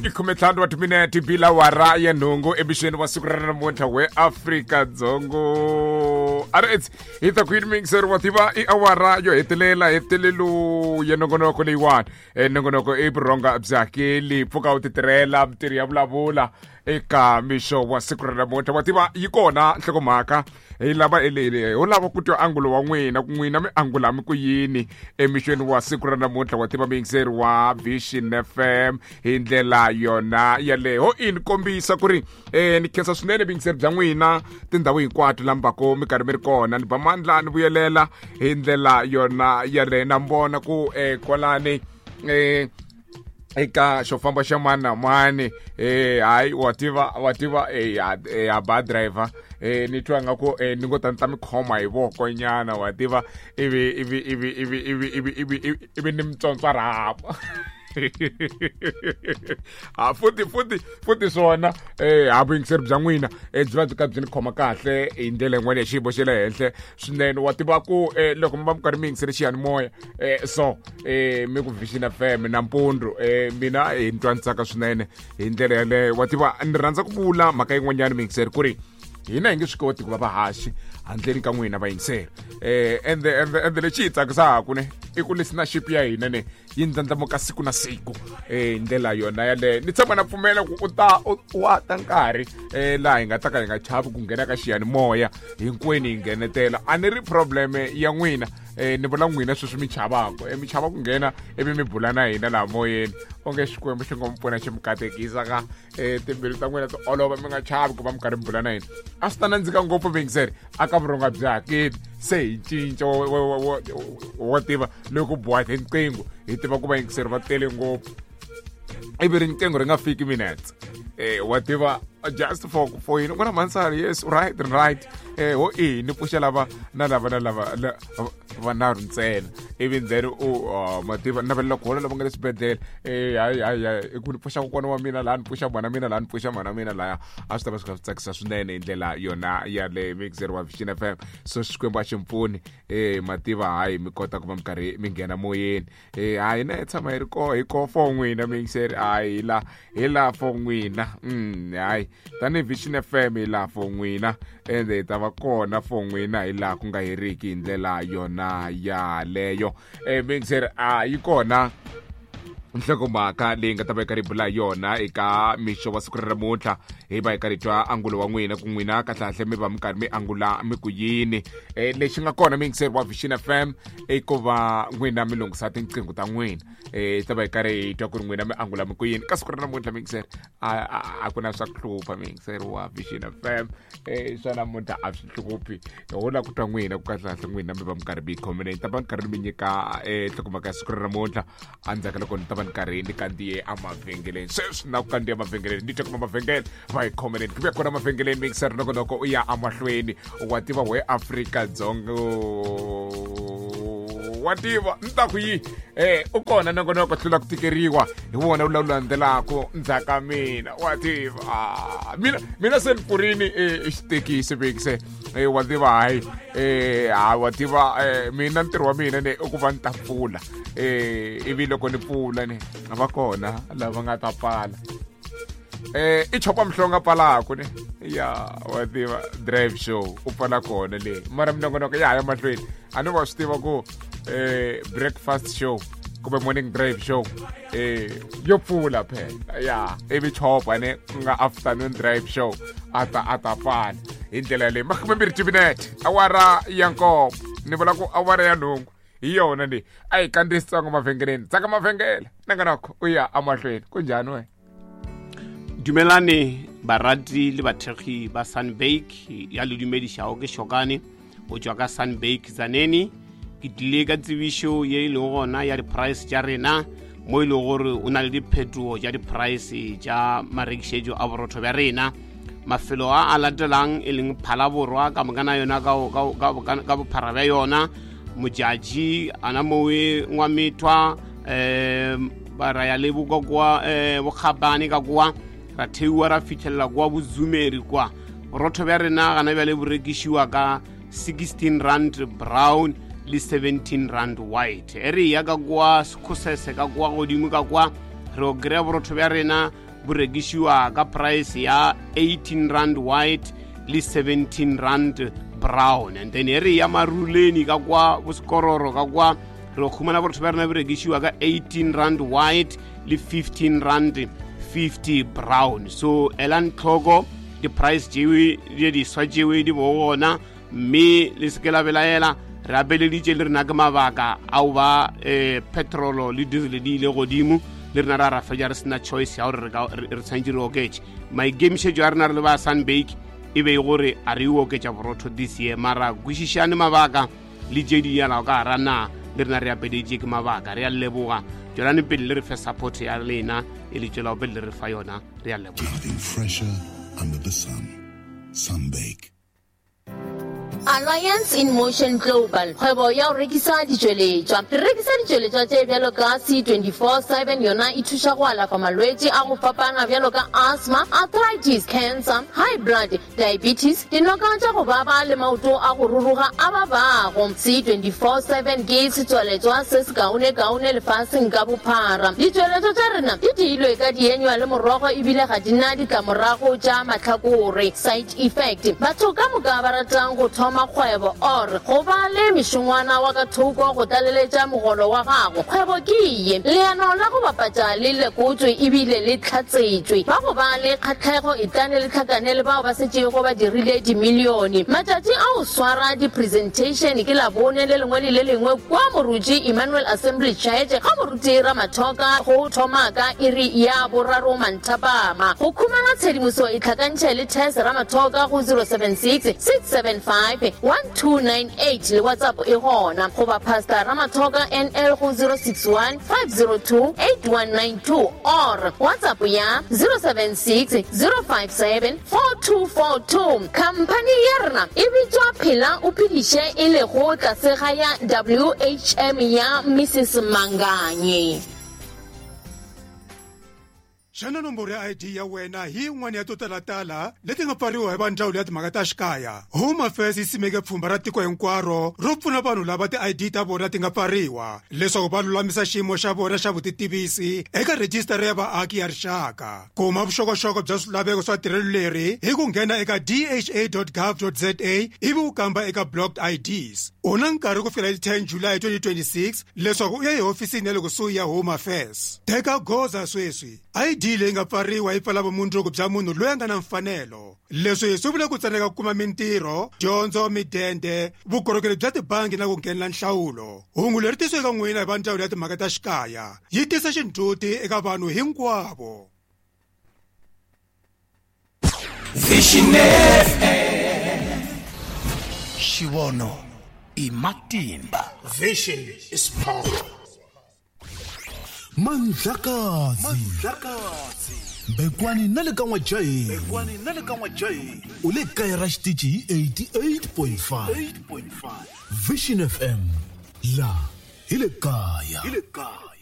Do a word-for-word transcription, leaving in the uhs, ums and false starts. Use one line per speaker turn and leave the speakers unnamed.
I khumetlhanu wa timinete bila wara ya nhungu emixeni wa siku ra namuntlha we Afrika-Dzonga. Alright, hi ta ku yini miyingiseri wa tiva i awara yo hetelela hetelelo ya nongonoko leyiwani. E nongonoko i vurhonga bya hakeli pfuka u titirhela mintirho ya vulavula eka mixo wa siku ra namuntlha. Wa tiva yi kona nhlokomhaka hi lava elele ho lava ku twa angulo wa n'wina ku n'wina mi angula mi ku yini emixweni wa siku ra namuntlha. Wa tiva miyingiseri wa Vision F M hi ndlela yona yaleyo ho ini kombisa ku ri eh ni khensa swinene vuyingiseri bya n'wina tindhawu hinkwato lambako mi karhi mi ri kona ni ba mandla ni vuyelela hi ndlela yona yaleyo na mbona ku eh kwalani eh eka xo famba xa mani na mani eh hayi wa tiva wa tiva eh ya ba driver eh ni twa nga ku eh ni ngo ta ni ta mi khoma hi voko nyana wa tiva ivi ivi ivi ivi ivi ivi ivi ivi ni mitsontswa rhaba ha futhi futhi futhi swona eh ha vuyingiseri bya n'wina eh byi va byi ka byi ni khoma kahle hi ndlela yin'wana ya xiyimo xa le henhla swinene. Wa tiva ku eh loko mi va mi karhi mi yingisele xiyanimoya eh so eh mi ku Vision F M nampundzu eh mina hi ni twa ni tsaka swinene hi ndlela yaleyo. Wa tiva ni rhandza ku vula mhaka yin'wanyana miyingiseri ku ri hina hi nge swi koti ku va vahaxi handleni ka n'wina vayingiseri eh ende ende ende lexi hi tsakisaka ne i ku listenership ya hina ne yi ndlandlamuka siku na siku eh ndlela yona yaleyo. Ni tshama na pfumela ku u ta wa ta nkarhi eh laha hi nga ta ka hi nga chavi ku nghena ka xiyanimoya hinkwenu hi nghenetela. A ni ri problem ya n'wina eh ni vula n'wina sweswi mi chavaka eh mi chava ku nghena ivi mi bula na hina laha moyeni onge Xikwembu xi ngo mi pfuna xi mi katekisa ka eh timbilu ta n'wina ti olova mi nga chavi ku va mi karhi mi bula na hina. A swi ta nandzika ngopfu vuyingiseri a ka vurhonga bya hakeli se hi cinca wa tiva loko boha hi riqingho hi tiva ku vayingiseri va tele ngopfu ivi riqingho ri nga fiki minutes eh wa tiva just for for yini ku na mansari yes right right eh ho i ni pfuxa lava na lava na lava vanharhu ntsena ivi then u ma tiva navelela ku hola lava nga le swibedhlele eh hayi hayi hayi ku ni pfuxa kokwana wa mina laha ni pfuxa mhana mina laha ni pfuxa mhana mina laya a swi ta va swi kha swi tsakisa swinene hi ndlela yona ya le mixer wa Vision F M. So Xikwembu a xi mpfuni eh ma tiva hayi mi kota ku va mi karhi mi nghena moyeni eh hayi na hi tshama hi ri ko hi ko for n'wina mixer hayi hi la hi la for n'wina mm hayi tanihi Vision F M hi laha for n'wina ende hi ta va kona for n'wina hi laha ku nga heriki hi ndlela yona yaleyo. Eh mixer a yi kona nhlokomhaka leyi nga ta va yi karhi bula yona eka mixo wa siku ra namuntlha hi va hi karhi twa angulo wa n'wina ku n'wina kahlekahle mi va mi karhi mi angula mi ku yini. Eh lexi nga kona miyingiseri wa Vision F M i ku va n'wina mi lunghisa tinqingho ta n'wina eh ta va hi karhi hi twa ku ri n'wina mi angula mi ku yini ka siku ra namuntlha miyingiseri a a ku na swa ku hlupha miyingiseri wa Vision F M eh swa namuntlha a swi hluphi ho la ku twa n'wina ku kahlekahle n'wina mi va mi karhi mi yi khomile. Ni ta va ni karhi mi nyika eh nhlokomhaka ya siku ra namuntlha endzhaku ka loko ni ta va ni karhi ni kandziye emavhengeleni. Sweswi na ku kandziya emavhengeleni ni twa kuma mavhengele va hi khomeleni ku vuya kona mavhengeleni mixer nongonoko u ya emahlweni wa tiva we Afrika-Dzonga wa tiva ni ta ku yi eh u kona nongonoko hlula ku tikeriwa hi wona wu lawu landzelaka ndzhaka mina wa tiva mina mina se ni pfurini i xitekisi mixer eh wa tiva hayi eh ha wa tiva mina ntirho wa mina ne i ku va ni ta pfula eh ivi loko ni pfula ni va kona lava nga ta pfala eh i chopa mhlonga pfalaku ne ya wa tiva drive show u pfala kona le mara minongonoko ya ha ya mahlweni a ni va swi tiva ku eh breakfast show kumbe morning drive show eh yo pfula phela ya ivi chopa ne ku nga afternoon drive show a ta a ta pfala hi ndlela leyi makumembirhi timinete awara ya nkombo ni vula ku awara ya nhungu hi yona leyi a hi kandziyisi tsongo mavhengeleni tsaka mavhengele nongonoko u ya emahlweni ku njhani wena.
Dumelane barati le bathekgi ba Sunbake ya le dumedišago ke Shokane o tšwa ka Sunbake Tzaneen. Ke tlile ka tsebišo ye e lego gona ya di-price tša rena mo e lego gore o na le diphetogo tša di-price tša marekišetšo a borotho bja rena. Mafelo a a latelang e leng Phalaborwa ka mokana yona ka bophara bja yona, Modjadji ana mowe Ngwamethwa um ba ra ya le bokokoa um Bokgabane ka kwa ra theiwa ra fitlhelela kwa Bozumeri kwa. Borotho bja rena gana bjale bo rekišiwa ka sixteen rand brown le seventeen rand white. E re ya ka kwa Sekhosese ka kwa godimo ka kwa re o kry-a borotho bja rena bo rekišiwa ka price ya eighteen rand white le seventeen rand brown. And then ere ya Maruleni ka kwa boskororo ka kwa re khumana borotho ba rena bo rekišiwa ka eighteen rand white le fifteen rand fifty brown. So elang tlhoko di-price tšewe di diswa tšewe di bo gona, mme le se ke la belaela. Re apeleditše le rena ke mabaka ao ba eh, petrolo le diesel di ile godimo, le rena ra ra fetša re sena choice ya gore re tshwanetse re oketše. Maikemišetšo a rena re le ba Sunbake e be gore a re oketša borotho this year, mara kwešišane mabaka le tše di yalago ka gara na le rena re apeleditše ke mabaka. Re a leboga, tšwelane pele le re fe support ya lena e le tšwelago pele le re fa yona. Re a leboga.
Nothing fresher under the sun. Sunbake.
Alliance in Motion Global, kgwebo ya go rekisa ditšweletšwa. Re rekisa ditšweletšwa tše bjalo ka C twenty-four seven, yona e thuša go alafa malwetši a go fapana bjalo ka asthma, arthritis, cancer, high blood, diabetes, dinoka tša go baba le maoto a go ruruga a babago. C twenty-four seven ke setswaletšwa se se kaone-kaone lefaseng ka bophara. Ditšweletšwa tša rena di diilwe ka dienywa le morogo ebile ga di na ditlamorago tša mahlakore, side effect. Batho ka moka ba ratang go thoma kgwebo or go ba le mešongwana wa ka thoko go tlaleletša mogolo wa gago, kgwebo ke ye. Leano la go bapatša le lekotswe ebile le tlhatsetšwe. Ba go ba le kgatlhego e tlane le tlhakane le bao ba setšego ba dirile dimilione. Matšatši a go swara di-presentation ke Labone le lengwe le le lengwe kwa Moruti Emmanuel Assembly Church ga Moruti Ramathoka go thoma ka iri ya boraro manthapama. Go khumana tshedimoso e tlhakantšhe le Tess Ramathoka go zero seven six six seven five one two nine eight le WhatsApp e gona, goba Pastor Ramathoka N L go zero six one five zero two eight one nine two or WhatsApp ya zero seven six zero five seven four two four two. Company ya rena e bitswa Phela o Phediše e lego tlase ga ya W H M ya Missus Manganye.
Xana nomboro ya I D ya wena hi yin'wana ya to talatala leti nga pfariwa hi va ndzawulo ya timhaka ta xikaya? Home Affairs yi simeke pfhumba ra tiko hinkwaro ro pfuna vanhu lava ti-I D ta vona ti nga pfariwa leswaku va lulamisa xiyimo xa vona xa vutitivisi eka rhijisitara ya vaaki ya rixaka. Kuma vuxokoxoko bya swilaveko swa tirhelo leri hi ku nghena eka d h a dot gov dot z a ivi u kamba eka blocked I Ds. U na nkarhi ku fikela hi ten July twenty twenty-six leswaku u ya ehofisini ya le kusuhi ya Home Affairs. Teka goza sweswi. I D leyi nga pfariwa yi pfala vumundzuku bya munhu loyi a nga na mfanelo. Leswi swi vula ku tsandzeka ku kuma mintirho, dyondzo, midende, vukorhokeri bya tibangi na ku nghenela nhlawulo. Hungu leri tisiweke eka n'wina hi va ndzawulo ya timhaka ta xikaya yi tisa xindzhuti eka vanhu hinkwavo.
Vision F M. Xivono i matimba.
Vision is power.
Mandlakazi Mandlakazi Bekwani na le ka N'wajahi Bekwani na le ka N'wajahi u le kaya ra xitichi hi eighty-eight point five Vision F M la hi le kaya hi le kaya.